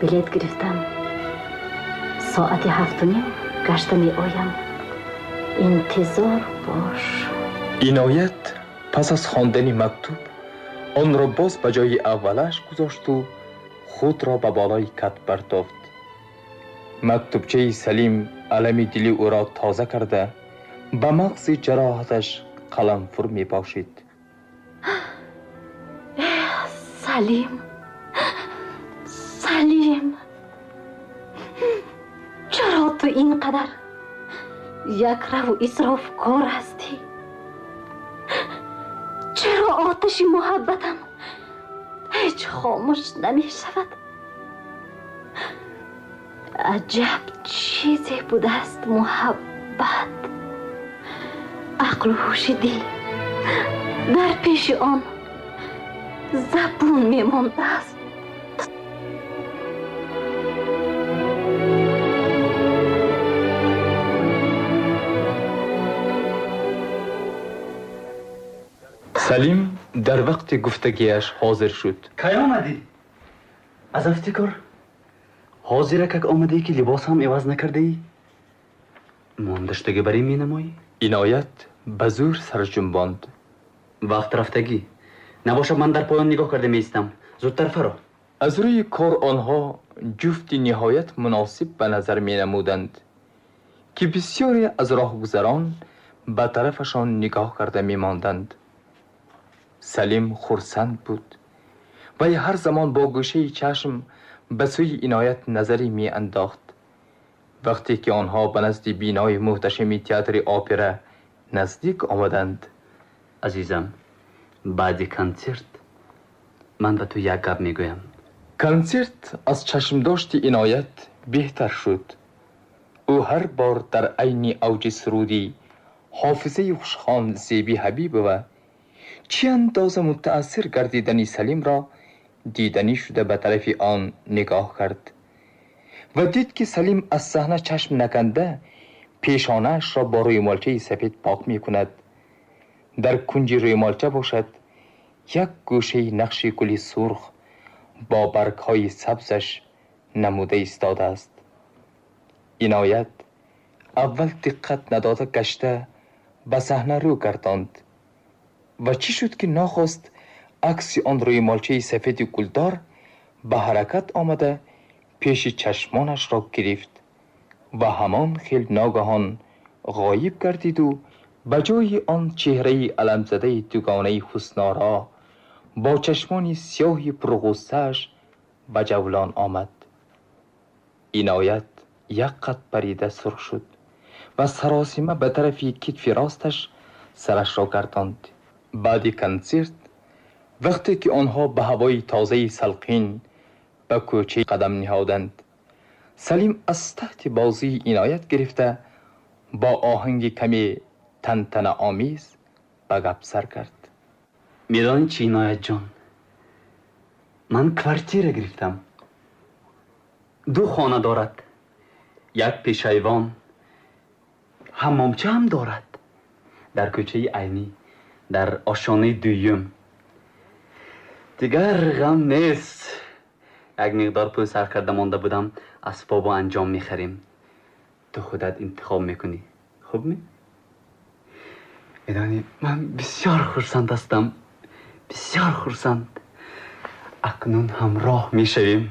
Билет гирифтам. Соати 7:30 гашта меоям. Интизор бош. Иноят пас аз хондани мактуб онро боз ба ҷои аввалаш гузошту худро ба болои кат бартофт. Мактубчаи Салим алами дили ӯро тоза карда ба мағзи ҷароҳаташ қаламфур мепошид. Салим, Салим, чаро ту ин қадар якраву исрофкор ҳастӣ? Чаро оташи муҳаббатам ҳеҷ хомӯш намешавад? Аҷаб чизе будааст муҳаббат. Ақлу ҳуши дил дар пеши он забун мемондааст. Салим дар вақти гуфтагиаш ҳозир шуд. Кай омадӣ? Аз афтикор ҳозира как омадӣ, ки либос ҳам иваз накардаӣ? Мондаштагӣ бар ин менамоӣ? Иноят ба зӯр сарҷунбонд. Вақт рафтагӣ набошад, ман дар поён нигоҳ карда меистам. Зудтар фаро. Аз рӯи кор онҳо ҷуфти ниҳоят муносиб ба назар менамуданд, ки бисёре аз роҳгузарон ба тарафашон нигоҳ карда мемонданд. Салим хурсанд буд. Вай ҳар замон бо гӯшаи чашм ба сӯи Иноят назаре меандохт. Вақте ки онҳо ба назди бинои муҳташами театри опера наздик омаданд. Азизам, баъди консерт ман ба ту як гап мегӯям. Консерт аз чашмдошти Иноят беҳтар шуд. Ӯ ҳар бор дар айни авҷи суруди ҳофизаи хушхон Зеби Ҳабибова чӣ андоза мутаассир гардидани Салимро диданӣ шуда ба тарафи он нигоҳ кард ва дид, ки Салим аз саҳна чашм наканда пешонаашро бо рӯймолчаи сафед пок мекунад. Дар кунҷи рӯймолча бошад як гӯшаи нақши гули сурх бо баргҳои сабзаш намуда истодааст. Иноят аввал диққат надода гашта ба саҳна рӯ гардонд ва чӣ шуд, ки нохост акси он рӯймолчаи сафеди гулдор ба ҳаракат омада пеши чашмонашро гирифт ва ҳамон хел ногаҳон ғоиб гардиду ба ҷои он чеҳраи аламзадаи дугонаи ҳуснора бо чашмони сиёҳи пурғуссааш ба ҷавлон омад. Иноят як қад парида сурх шуд ва саросима ба тарафи китфи росташ сарашро гардонд. Баъди консерт вақте ки онҳо ба ҳавои тозаи салқин ба кӯча қадам ниҳоданд, Салим аз таҳти бозии Иноят гирифта бо оҳанги каме тантанаомез ба гап сар кард. Медонӣ чӣ, Иноятҷон? Ман квартира гирифтам. 2 хона дорад, як пешайвон, ҳаммомча ҳам дорад. Дар кӯчаи Айнӣ, дар ошонаи дуюм. Дигар ғам нест. Як миқдор пул сарф карда монда будам, асбобу анҷом мехарем. Ту худат интихоб мекунӣ. Хуб ми? Медонӣ, ман бисёр хурсанд ҳастам. Бисёр хурсанд. Акнун ҳамроҳ мешавем.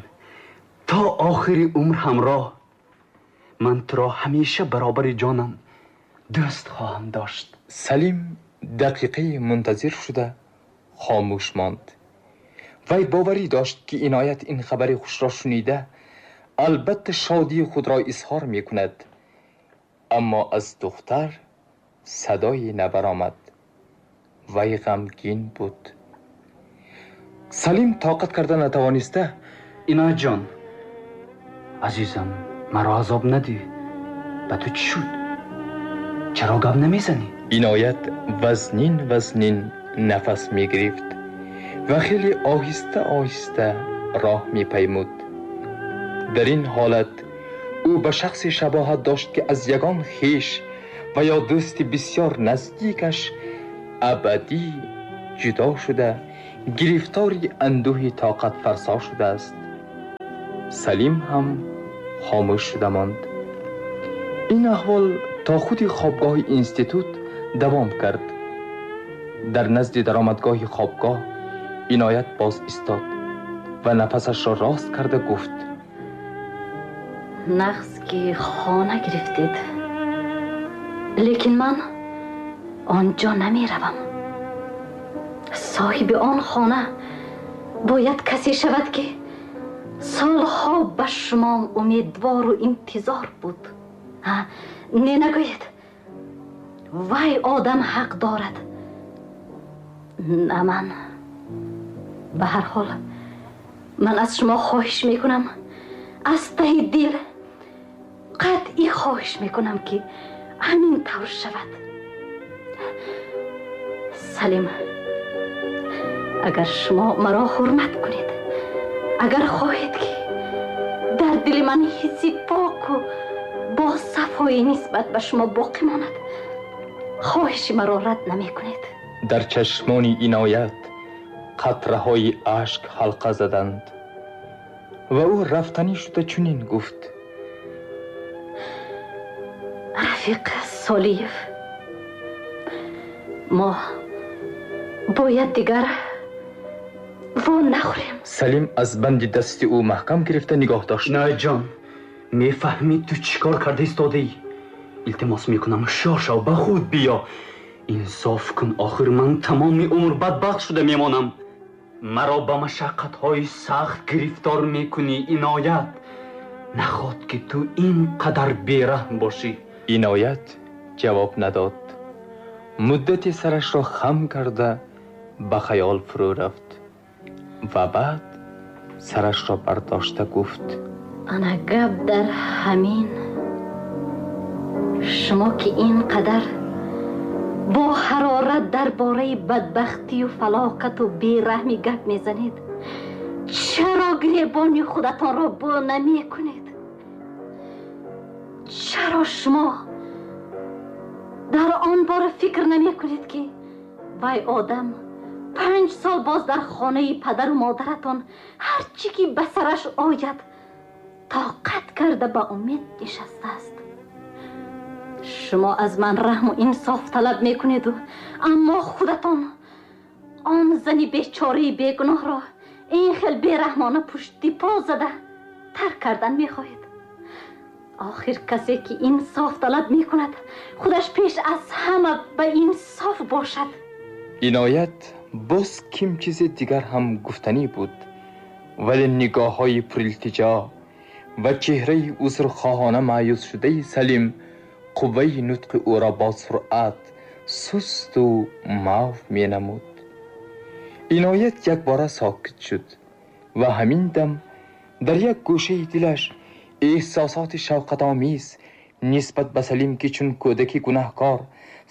То охири умр ҳамроҳ. Ман туро ҳамеша баробари ҷонам дӯст хоҳам дошт. Салим дақиқаи мунтазир шуда хомӯш монд. Вай боварӣ дошт, ки Иноят ин хабари хушро шунида албатта шодии худро изҳор мекунад, аммо аз духтар садое набаромад. Вай ғамгин буд. Салим тоқат карда натавониста: Иноятҷон, азизам, маро азоб надиҳ. Ба ту чӣ шуд? Чаро гап намезанӣ? Иноят вазнин вазнин нафас мегирифт ва хеле оҳиста оҳиста роҳ мепаймуд. Дар ин ҳолат ӯ ба шахсе шабоҳат дошт, ки аз ягон хеш ва ё дӯсти бисёр наздикаш абадӣ ҷудо шуда, гирифтори андӯҳи тоқатфарсо шудааст. Салим ҳам хомӯш шуда монд. Ин аҳвол то худи хобгоҳи институт давом кард. Дар назди даромадгоҳи хобгоҳ Иноят боз истод ва нафасашро рост карда гуфт: Нағз ки хона гирифтед, лекин ман он ҷо намеравам. Соҳиби он хона бояд касе шавад, ки солҳо ба шумо умедвору интизор буд. Не, нагӯед, вай одам ҳақ дорад, на ман. Ба ҳар ҳол, ман аз шумо хоҳиш мекунам, аз таҳи дил қатъӣ хоҳиш мекунам, ки ҳамин тавр шавад. Салим, агар шумо маро ҳурмат кунед, агар хоҳед, ки дар дили ман ҳисси поку бо сафоӣ нисбат ба шумо боқӣ монад, хоҳиши маро рад намекунед. Дар чашмони Иноят қатраҳои ашк ҳалқа заданд ва ӯ рафтанӣ шуда чунин гуфт: Рафиқ Солиев, мо бояд дигар во нахӯрем. Салим аз банди дасти ӯ маҳкам гирифта нигоҳ дошт. Иноятҷон, мефаҳмӣ, ту чӣ кор карда истодаӣ? Илтимос мекунам, ҳушёр шав, ба худ биё, инсоф кун. Охир ман тамоми умр бадбахт шуда мемонам. Маро ба машаққатҳои сахт гирифтор мекунӣ. Иноят, наход ки ту ин қадар бераҳм бошӣ. Иноят ҷавоб надод. Муддате сарашро хам карда ба хаёл фурӯ рафт ва баъд сарашро бардошта гуфт: Ана гап дар ҳамин. Шумо ки ин қадар бо ҳарорат дар бораи бадбахтию фалокату бераҳмӣ гап мезанед, чаро гиребони худатонро бо намекунед? Чаро шумо дар он бора фикр намекунед, ки вай одам 5 сол боз дар хонаи падару модаратон ҳар чӣ ки ба сараш ояд, тоқат карда, ба умед нишастааст? Шумо аз ман раҳму инсоф талаб мекунеду, аммо худатон он зани бечораи бегуноҳро ин хел бераҳмона пушти по зада тарк кардан мехоҳед. Охир касе ки инсоф талаб мекунад, худаш пеш аз ҳама ба инсоф бошад. Иноят боз ким чизи дигар ҳам гуфтанӣ буд, вале нигоҳҳои пурилтиҷо ва чеҳраи узрхоҳона маъюсшудаи Салим қувваи нутқи ӯро бо суръат сусту мав менамуд. Иноят якбора сокит шуд ва ҳамин дам дар як гӯшаи дилаш эҳсосоти шавқатомез нисбат ба Салим, ки чун кӯдаки гунаҳкор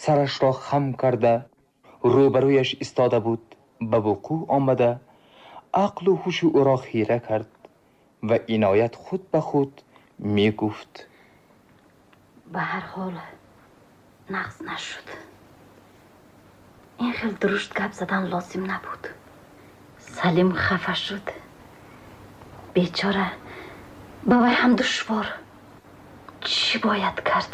сарашро хам карда рӯбарӯяш истода буд, ба вуқӯъ омада, ақлу ҳушу ӯро хира кард ва Иноят худ ба худ мегуфт: Ба ҳар ҳол, нағз нашуд. Ин хел дурушт гап задан лозим набуд. Салим хафа шуд, бечора, ба вай ҳам душвор. Чӣ бояд кард?